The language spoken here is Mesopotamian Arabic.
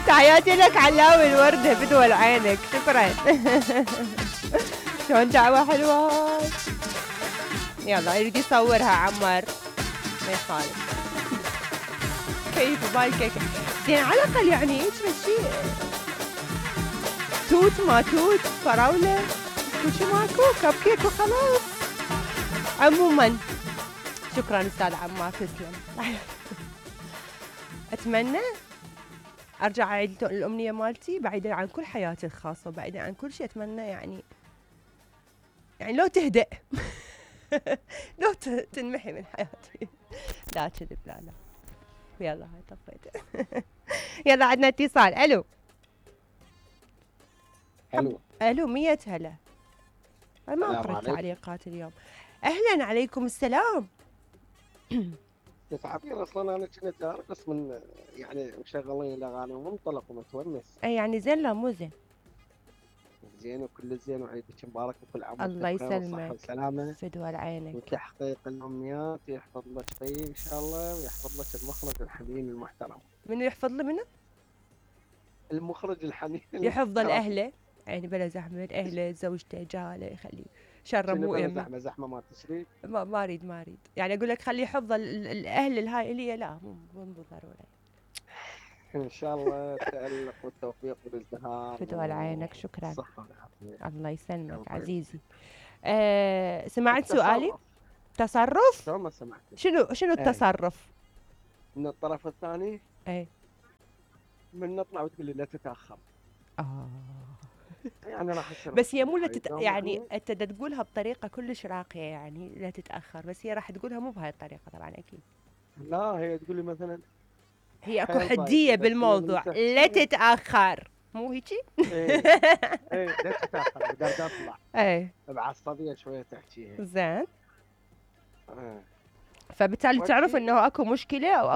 تحياتي لك علاوي الوردة بدول عينك، شكرا. شلون دعوة حلوة. يلا يريد يصورها عمار ما يخالف. كيف بالكيك زين على الاقل يعني هيك شيء توت ما توت فراولة كل شيء ماكو كب كيك وخلاص. عموما شكرا استاذ عمار تسلم. اتمنى ارجع اعيد الامنيه مالتي بعيدا عن كل حياتي الخاصه وبعيدا عن كل شيء. اتمنى يعني لو تهدأ. لو تنمحي من حياتي. لا كذب لا يلا هاي طفيت. يلا عندنا اتصال. الو الو 100 هلا. ما قرأت تعليقات اليوم. اهلا عليكم السلام. تعرفين اصلا انا كنت ارقص من يعني مشغلين الاغاني ومنطلق ومتونس. اي يعني زين لا مو زين؟ زين وكل زين وعيدك مبارك وكل عام الله يسلمك والصحة والسلامة فدوى عينك وتحقيق الامنيات. يحفظ لك فيه ان شاء الله ويحفظ لك المخرج الحنين المحترم. منو يحفظ لي منو؟ المخرج الحنين يحفظ الاهله يعني بلا زحمه اهله زوجته جاله يخليه شر مو يمه زحمه ما تشري. ما اريد يعني اقول لك خليه يحفظ الاهل الهائليه لا مو ضروري. ان شاء الله التألق والتوفيق والازدهار فدوى عينك شكرا. الصحه والعافيه الله يسلمك عزيزي. سمعت سؤالي؟ تصرف؟ شو ما سمعت. شنو التصرف؟ من الطرف الثاني؟ اي من نطلع وتقول لي لا تتاخر. يعني راح اصير بس هي مو يعني انت تقولها بطريقه كلش راقيه يعني لا تتاخر، بس هي راح تقولها مو بهاي الطريقه طبعا اكيد. لا هي تقول لي مثلا هي اكو حديه بالموضوع لا تتاخر مو هيجي؟ ايه لا تتاخر بدي اطلع. ايه بعصبيه شويه تحكيها. زين. فبالتالي تعرف انه اكو مشكله او